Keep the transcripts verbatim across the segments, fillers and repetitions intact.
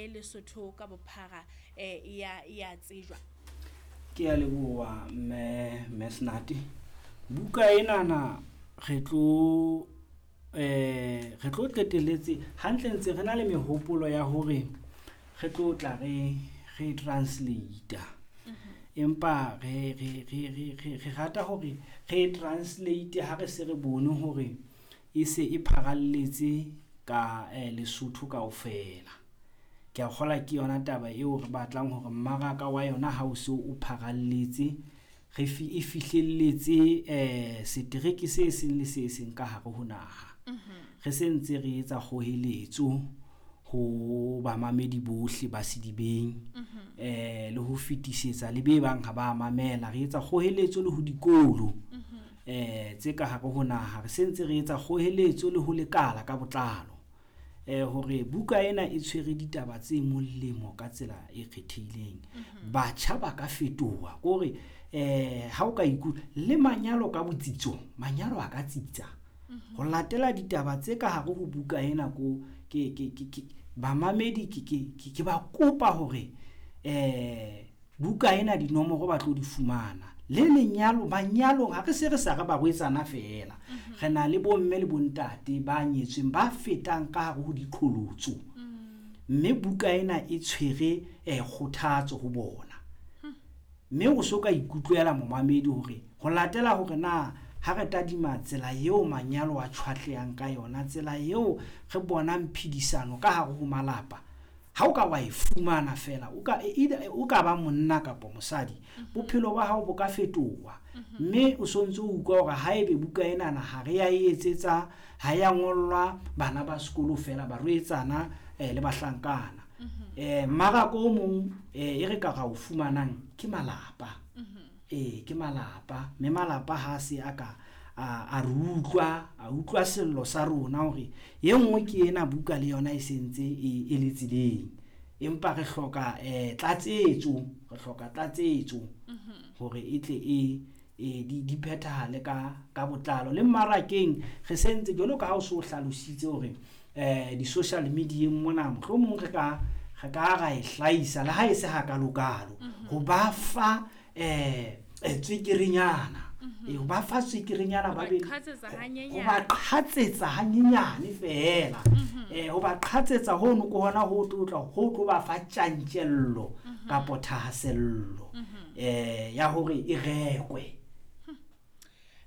le Lesotho ka bophara eh ya ya tsejwa? Ke a leboha mme mme Snati. Buka enana re tlo eh re tlo qetelletse hantle ntse re na le mehopolo ya hore re tlo tla re re translate-a. Empa re re re re re re rata hore re translate ha re se re bone hore e se e pharalletse ka Lesotho kaofela. Ke a kgolwa ke yona taba eo re batlang hore mmaraka wa yona ha o so o pharalletse, re e fihlelletse setereke se seng le se seng ka hare ho naha. Re se ntse re etsa kgoeletso ho bamamedi bohle ba Sedibeng le ho fetisetsa le be bang ha ba mamela. Re etsa kgoeletso le ho dikolo tse ka hare ho naha. Re se ntse re etsa kgoeletso le ho lekala ka botlalo hore buka ena e tshwere ditaba tse molemo ka tsela e kgethehileng. Batjha ba ka fetoha, ke hore ha o ka le manyalo ka botsitso, manyalo a ka tsitsa. Ho latela ditaba tse ka hare ho buka ena ko ke ke ke bamamedi ke ke ke ba kopa hore buka ena dinomoro ba tlo di fumana. Le lenyalo, manyalong ha re se re sa re barwetsana feela. Re na le bomme le bontate ba nyetsweng ba fetang ka hare ho diqholotso. Mme buka ena e tshwere kgothatso ho bona. Mme o so ka ikutlwela momamedi hore ho latela hore na ha re tadima tsela eo manyalo a tjhwatlehang ka yona, tsela eo re bonang phedisano ka hare ho malapa, ha o ka wa e fumana feela, o ka either o ka ba monna kapa mosadi, bophelo ba hao bo ka fetoha. Mme o sontso o utlwa hore haebe buka enana ha re ya e etsetsa, ha ya ngollwa bana ba sekolo feela, barwetsana le bahlankana. Mmaraka o mong e re ka ra o fumanang ke malapa. Ee, ke malapa. Mme malapa ha se a ka a re utlwa, a utlwa sello sa rona hore e nngwe ke ena buka le yona e sentse e e le tseleng. Empa re hloka tlatsetso, re hloka tlatsetso hore e tle e e di di phethahale ka ka botlalo. Le mmarakeng re sentse jwalo ka ha o so hlalositse hore di-social media-eng mona mohlomong re ka re ka ra e hlahisa le ha e se hakalokalo. Ho ba fa tswekerenyana. E ho ba fa tswekerenyana ba be ho ba qhatsetsa hanyenyane feela. Ho ba qhatsetsa hono ke hona ho tlo tla ho tlo ba fa tjantjello kapo thahasello ya hore e rekwe.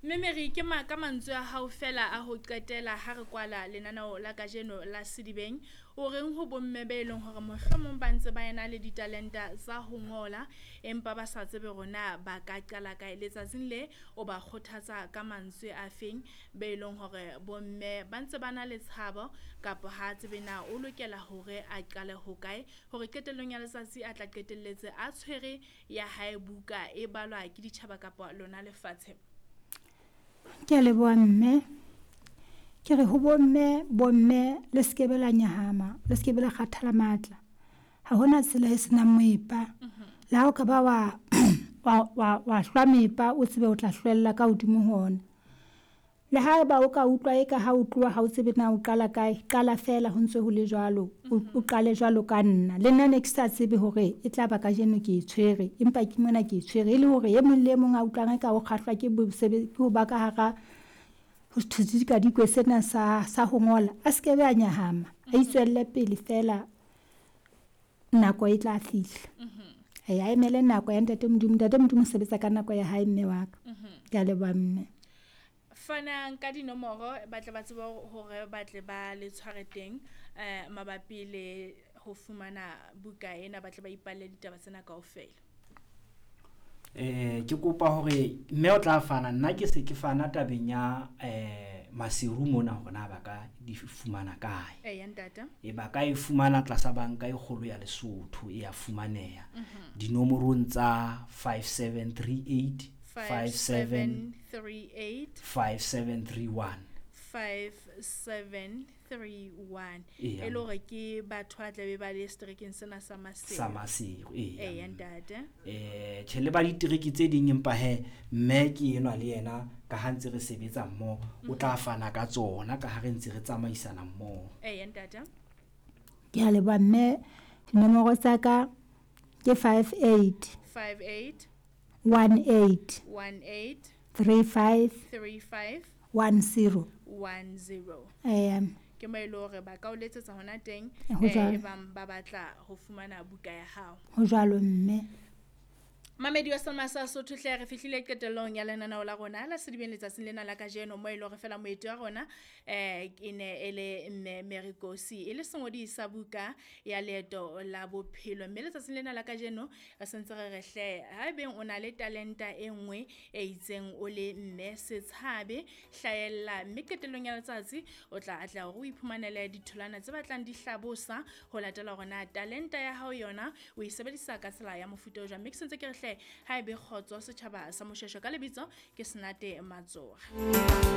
Mme Mary, ke ma ka mantswe a hao fela a ho qetela ha re kwala lenaneo la kajeno la Sedibeng, o reng ho bomme be leng hore mohlomong ba ntse ba ena le ditalenta tsa ho ngola empa ba sa tsebe hore na ba ka qala kae? Letsatsing le o ba kgothatsa ka mantswe a feng be leng hore bomme ba ntse ba na le tshabo kapa ha tsebe na o lokela hore a qale ho kae hore qetellong ya letsatsi a tla qetelletse a tshwere ya hae buka e balwa ke ditjhaba kapa lona lefatshe? Ke a leboha mme. Ke re ho bomme, bomme le skebe la nyahama, le skebe la kgathala matla. Ha hona tsela e senang moepa. Le ha o ka ba wa wa wa wa hlwa mepa, o tsebe o tla hlwella ka hodimo ho ona. Le ha eba o ka utlwa eka ha o tloha ha o tsebe na o qala kae, qala feela ho ntse ho le jwalo. O qale jwalo ka nna. Le nna ne ke sa tsebe hore e tla ba kajeno ke e tshwere, empa ke mona ke e tshwere. E le hore e mong le e mong a utlwang eka o kgahlwa ke ke ho ba ka hara ho sedikadikwe sena sa sa ho ngola, a skebe a nyahama. A itswelle pele feela, nako e tla fihla. E a emele nako ya ntate Modimo. Ntate Modimo o sebetsa ka nako ya hae mme wa ka. Ke a leboha mme. Fanang ka dinomoro ba tle ba tsebe hore ba tle ba le tshware teng eh mabapi le ho fumana buka ena, ba tle ba ipalle ditaba tsena kaofela. Eh ke kopa hore mme o tla fana, nna ke se ke fana tabeng ya eh Maseru mona hore na ba ka di fumana kae. Eya ntate. E ba ka e fumana tlasa banka e kgolo ya Lesotho, e ya fumaneha. Dinomorong tsa five seven three eight, five seven three eight, five seven three one. five seven three one. E le hore ke batho ba tlabe ba le seterekeng sena sa Maseru. Sa Maseru, eya. Eya ntate. Eh tjhe le ba ditereke tse ding empa he mme ke enwa le yena ka ha ntse re sebetsa mmoho, o tla fana ka tsona ka ha re ntse re tsamaisana mmoho. Eya ntate. Ke a leboha mme. Dinomoro tsa ka ke five eight five eight one eight one eight three five three five one zero. one zero. Eya. Ke mo e le hore ba ka o letsetsa hona teng, Ho eh, jwalo. e bang ba batla ho fumana buka ya hao. Ho jwalo mme. Mamedi wa Selma sa Sotho hle re fihlile qetellong ya lenaneo la rona la Sedibeng letsatsing lena la kajeno, mo e le hore fela moeti wa rona eh e ne e le mme Mary Nkosi, e le sengodi sa buka ya leeto la bophelo. Mme letsatsing lena la kajeno re sentse re re hle haebeng o na le talenta e nngwe e itseng o le mme, se tshabe, hlahella, mme qetellong ya letsatsi o tla atleha hore o iphumanele ditholwana tse batlang di hlabosa ho latela hore na talenta ya hao yona o e sebedisa ka tsela ya mofuta o jwang. Mme ke sentse ke re hle ha ebe kgotso setjhaba sa Moshweshwe, ka lebitso ke Senate Matsoha.